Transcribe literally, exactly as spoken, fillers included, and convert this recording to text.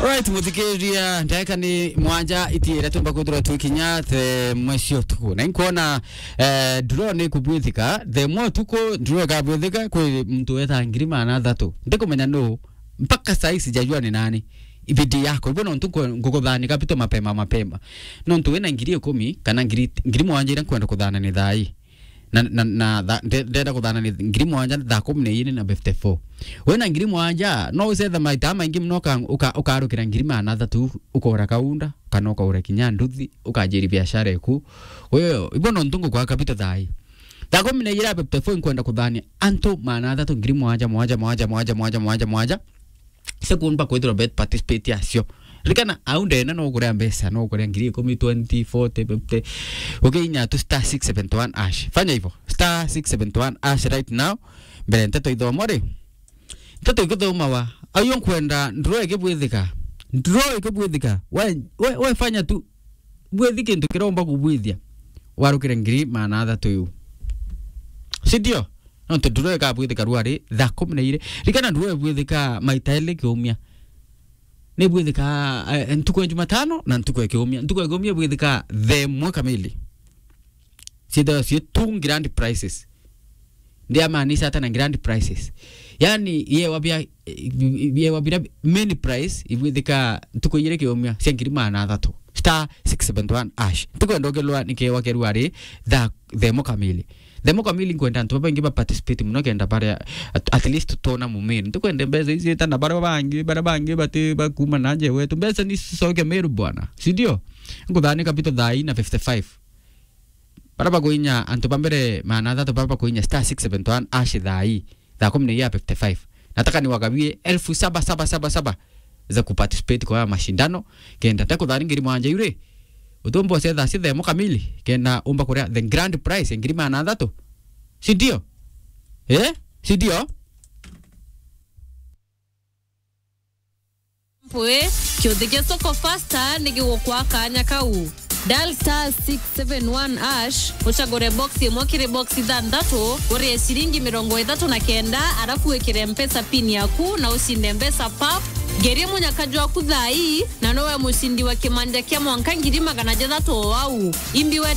Alright, muthikiria, ndagika ni mwanja itiira tumba kwithirwa twikinya the mwe cia utuku. Na inkwona, eh, draw ni kubwithika, the mwe utuku draw ikabwithika, kwi muntu weta ngiri magana athatu. Ndikumenya nu, mpaka saa hii sijajua ni nani. Ibidi yako, ibo nontu nkwe-, ngukuthani capital mapema mapema. Nontu wina ngiri ikumi, kana ngiri, ngiri mwanja iria nkwenda kuthana ni thaa ii. Na, na, na tha-, nde-, ndenda kuthana ni ngiri mwanja thaa kumi na iri na fifty-four. Wina ngiri mwanja, no ucetha maita maingi muno uka-, uka-, ukarukira ngiri magana athatu, ukora kaunda, kana ukaura kinya nduthi, ukajiri biashara eku. Kwa hiyo, ibo nontu ngukwa capital thaa ii. Thaa kumi na iri na fifty-four nkwenda kuthania antu magana athatu, ngiri mwanja, mwanja, mwanja. Cia kumba kwithirwa bet participate acio. Ririkana, au ndene no ukuria mbeca, no ukuria ngiri ikumi, twenty, forty, fifty. Ukiinya tu star six seventy one hash. Fanya hivyo. Star six seventy one hash right now. Mbere nteto ithomo ri. Nteto ikuthomawa. Au yo nkwenda draw ikibwithika. Draw ikibwithika. We, we, we fanya tu. Bwithi kintu kiria umba kubwithia. Warukire ngiri magana athatu iu. Si ndio? Nontu draw ikabwithika ruari thaa kumi na iri. Ririkana draw ibwithika maita eli kiumia. Ni ibwithika, eh, ntuku ya Jumatano na ntuku ya kiumia. Ntuku ya kiumia ibwithika thaa imwe kamili. Ciithagwa cii two grand prizes. Ndiamaanisha ata na grand prizes? Yani, yewa bia, yewa bira main prize ibwithika ntuku igiri kiumia cia ngiri magana athatu. Star six seventy one hash. Ntikwenda ukilwa ni kewa keru ari thaa, thaa imwe kamili. Thaa imwe kamili nkwenda antu babaingi ba participate muno kenda baria at, at least tona mumiri. Ntikwenda mbeca ici ita na baria bangi, baria bangi bati bakuma na nje wetu. Mbeca ni cicoke Meru bwana. Si ndio? Nkuthani capital thaa ii na fifty-five. Baria bakuinya antu ba mbere magana athatu baria bakuinya star six seventy one hash thaa ii, thaa kumi na iri ya fifty-five. Nataka niwagawie elfu saba saba saba saba za kuparticipate kwa haya mashindano. Kenda te kuthani ngiri mwanja iu ri, utumba ucetha cia thaa imwe kamili, kenda umba kuria the grand prize ya ngiri magana athatu. Si ndio? Eh? Si ndio? Mpwi, kiuthi kia Soko Fasta ni gigukwa kaanya kau. Dial star six seven one hash, ucagure box imwe kiri box ithanthatu, urie ciringi mirongo ithatu na kenda, arafu wikire Mpesa pin yaku na ucinde mbeca pap. Ngerie munyaka jwaku thaa ii, na nowe mucindi wa kimanja kia mwanka ngiri magana jathatu o au. Imbi we